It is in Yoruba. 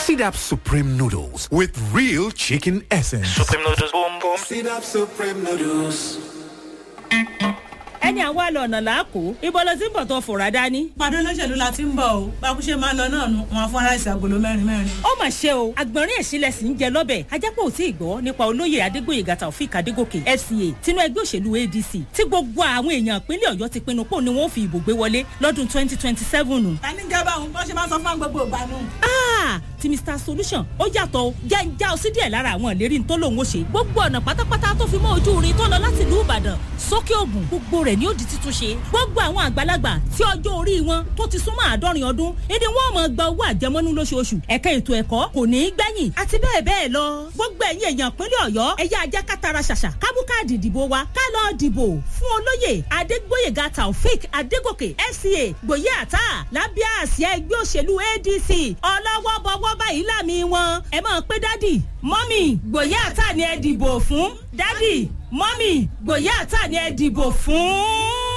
Sidap Supreme Noodles with real chicken essence. Supreme noodles, boom boom. Sidap Supreme Noodles. Ẹni àwa lọ ọ̀nà làákò ibo ló ti ń bọ̀ tó fòrà dání. Pàdé olóṣèlú la ti ń bọ̀ o, bákúṣe máa ń lọ náà nu wọn fún aláìsí agolo mẹ́rin mẹ́rin. Ó mà ṣe o, àgbọ̀nrín ẹ̀sìnlẹ̀ sì ń jẹ lọ́bẹ̀. Ajápọ̀ ò tí ì gbọ́ nípa olóyè Adégbòyègà Taofik Adégòkè FCA tinú ẹgbẹ́ òṣèlú ADC tí gbogbo àwọn èèyàn ìpínlẹ̀ Ọ̀yọ́ ti pinnu pò ní wọ́n fi ìbò gbé wọlé lọ́dún 2027. Ta ní jẹ́ báwọn bọ́n ṣe máa ń sọ fún gbogbo ìgbà nù. Ti Mr Solution ó yàtọ̀ o, jẹ́ ń já ọ sí díẹ̀ lára àwọn ìlérí tó lòun ó ṣe. Gbogbo ọ̀nà pátápátá tó fi mọ́ ojú irin tó lọ láti ìlú Ìbàdàn sókè Ògùn, gbogbo rẹ̀ ni ó di títún ṣe. Gbogbo àwọn àgbàlagbà tí ọjọ́ orí wọn tó ti súnmọ́ 70 ọdún ìdí wọn máa gba owó àjẹmọ́nú lóṣooṣù. Ẹ̀ka ètò ẹ̀kọ́ kò ní í gbẹ̀yìn àti bẹ́ẹ̀ bẹ́ẹ̀ lọ. Gbogbo ẹ̀yin èèyàn ìpínlẹ̀ Ọ̀yọ́, ẹ̀yà ajá kátara ṣàṣà kábú káàdì ìdìbò wa ká lọ dìbò fún olóyè Adégbóyèga Taofik Adégòkè FCA Gbòye Àtà lábẹ́ àsíá ẹgbẹ́ òṣèlú ADC. Ọlọ́wọ́ bọ́wọ́ báyìí láàmì wọn. Ẹ máa pé dádì mọ́mì, Gbòye Àtà ni ẹ dìbò fún. Dádì mọ́mì, Gbòye Àtà ni ẹ dìbò fún.